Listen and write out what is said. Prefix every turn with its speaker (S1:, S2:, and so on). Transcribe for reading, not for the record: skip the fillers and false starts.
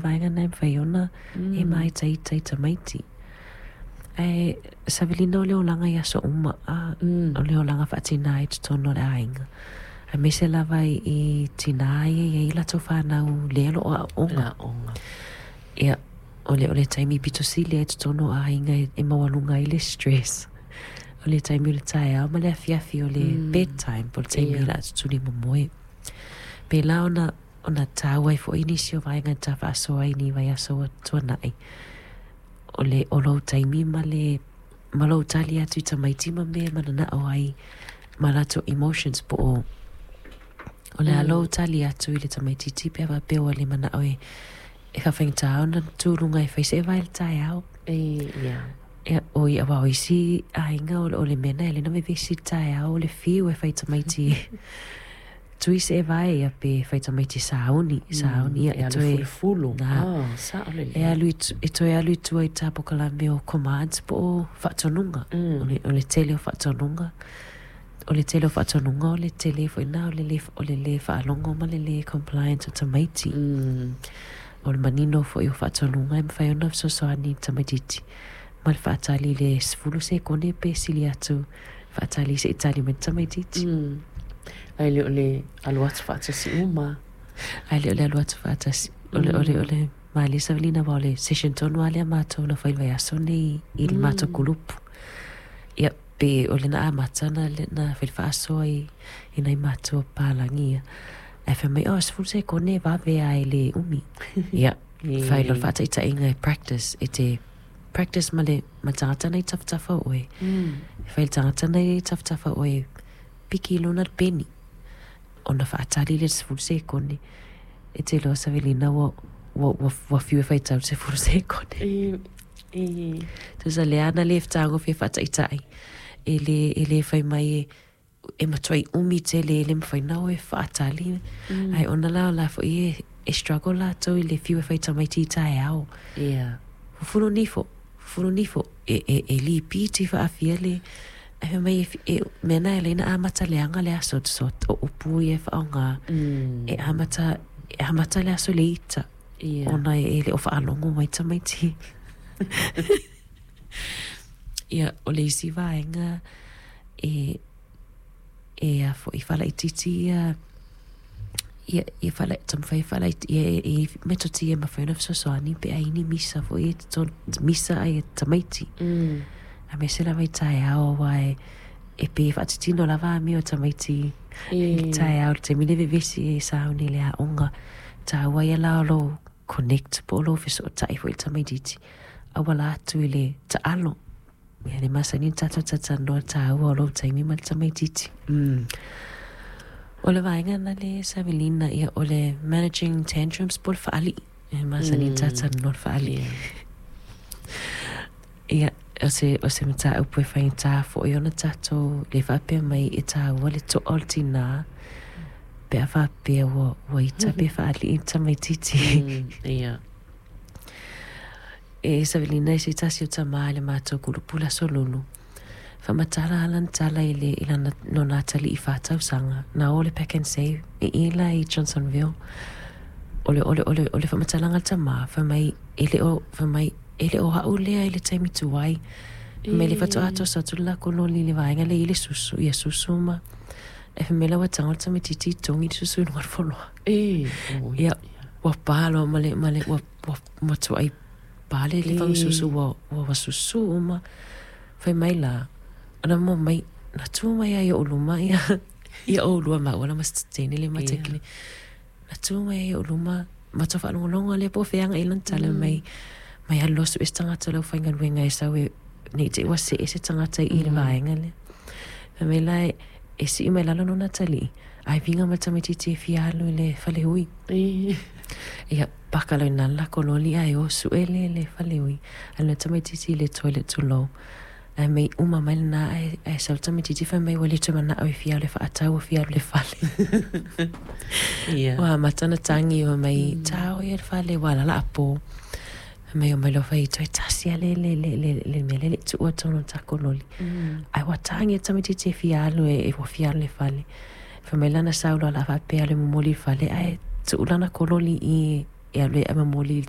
S1: Vaega lena e mafai ona e māitaita i tamaiti. Ae savaliina o le olaga i aso uma, a, o le olaga faatinā i totonu o le aiga. Aemaise lava i tinā ia e i ai latou fanau lea o lo o aooga. Ia, o le taimi pito sili ai i totonu o aiga e maualuga ai le stress. O le taimi o le taeao ma le afiafi o le bedtime, po o le taimi o le a tutuli momoe. Pēlā ona tāua ai foi nisi o vaega ta faasoa ai ni vaiaso ua tuanai. O le o lou taimi ma le ma lou tali atu i tamaiti ma mea e mananao ai ma latou emotions po o le a lou tali atu i le tamaitiiti pe a faapea ua le manao e faafaigata ona tu i luga e fai se vae i le taeao. Ia, oi aua o isi aiga o le mea lena e ala ai ona vevesi i le taeao o le fiu e fai i tamaiti tui se vae ia pe fai tamaiti sauni, sauni ia
S2: E
S1: e
S2: alu
S1: toe
S2: fulufulu.
S1: Na.
S2: Ah, sao
S1: E
S2: lelei.
S1: alu e toe alu i tua i tā pokalame o commands po o faatonuga. O le tele o faatonuga. O le tele o faatonuga o le tele foi na o le lē faalogo ma le lē compliance o tamaiti. O le manino foi o faatonuga e mafai ona fesoasoani i tamaitiiti ma le faatali i le 10 sekone pe sili atu faatali seʻi tali mai le tamaitiiti.
S2: Ae le o le alu atu faatasi uma.
S1: Ae le o le alu atu faatasi. O le malie savalina aua o le session tonu lava lea matou na fai i le vaiaso nei i le matou kulupu. Ia, pe o le na amata na fai le faasoa i nai matua papalagi ia. Ae fai mai, oh, 10 sekone e vave lava e le umi. Ia, fai loa le faataitaiga e practice, e te practice ma le ma le tagata lena i tafatafa o oe. E fai le tagata lena i tafatafa o oe, piki i luna le peni. Ona faatali lea i le 10 sekone. E te iloa savalina ua fiu e faitau le 10 sekone. Tusa lea na le fetagofie faataitai. E le fai mai e matuai umi tele e le mafai ona o e faatali. Ae ona la o la foi e struggle latou i le fiu e fai tamaiti i taeao. Fufulu nifo, fufulu nifo, e lipiti faafia le ae fai mai e mea na e ala ai ona amata leaga le aso so o upu ia e faaaoga. E amata le aso i le ita. Ona e le o faalogo mai tamaiti. Ia, o le isi vaega e a foi faalaitiiti ia taumafai e faalaiti ia e metotia e mafai ona fesoasoani pe a i ai ni misa foi e totonu misa ai e tamaiti. Aemaise lava i taeao aua e pei e faatitino lava amio a tamaiti i le taeao i le taimi le vevesi e sauni i le aoga. Taua ia la o lou connect po o lou fesootai foi i le tamaitiiti auala atu i le taalo. Ia le masani ona tatou talatalanoa taua o lou taimi ma le tamaitiiti. O le vaega lena le savalina ia o le managing tantrums po o le faalii. E masani ona talatalanoa le faalii. Ia, o se mataupu e faigata foi ona tatou le faapea mai e taua le toa o le tinā pe a faapea ua ita pe faalii le tamaitiiti. E savalina e se tasi o tamā i le matou kulupu i le aso Lulu. Faamatala lana tala i le i lana lona atalii 4 tausaga. Na o le Pak'nSave i i la i Johnsonville. O le faamatalaga a le tamā, fai mai e le o fai mai e le o au lea i le taimi tuai. Fai mai le faatoa toso atu le lakou loli i le vaega lea e i ai le susu, ia susu ma ae fai mai la ua tago le tamaitiiti i togi le susu i luga o le foloa.
S2: Oi.
S1: Ia, ua pa loa ma le ua matuai pa le fagususu ua susu uma. Fai mai la, ona mo mai, na tu mai ai o'u luma ia ʻolua maua la ma teine le matakile. Na tu mai ai o'u luma, matou faalogologo lea po o fea agai lana tala mai. Mai alu loa sue se tagata o le aufaigaluega e sau e nei te i ua see se tagata i le vaega lea. Fai mai la e sii mai lalo lona atalii, ae viga mai le tamaitiiti e fia alu i le faleui. Ia, paka loa i lalo le lakou loli ae o sue le faleui. Alu le tamaitiiti i le toilet tulou. Ae mai uma mai lena ae sau le tamaitiiti fai mai ua le toe manao e fia alu e faatau ua fia alu i le fale. Ua amata ona tagi ua mai tao ia le fale ua ala laapo. Fai mai o mai loa fai toe tasi lava le mea lea e le i tuua i totonu o le takou loli. Ae ua tagi le tamaitiiti e fia alu e ua fia alu i le fale. Fai mai lana sau loa o le a faapea e alu e momoli i le fale ae tuu lana kololi i e alu e momoli i le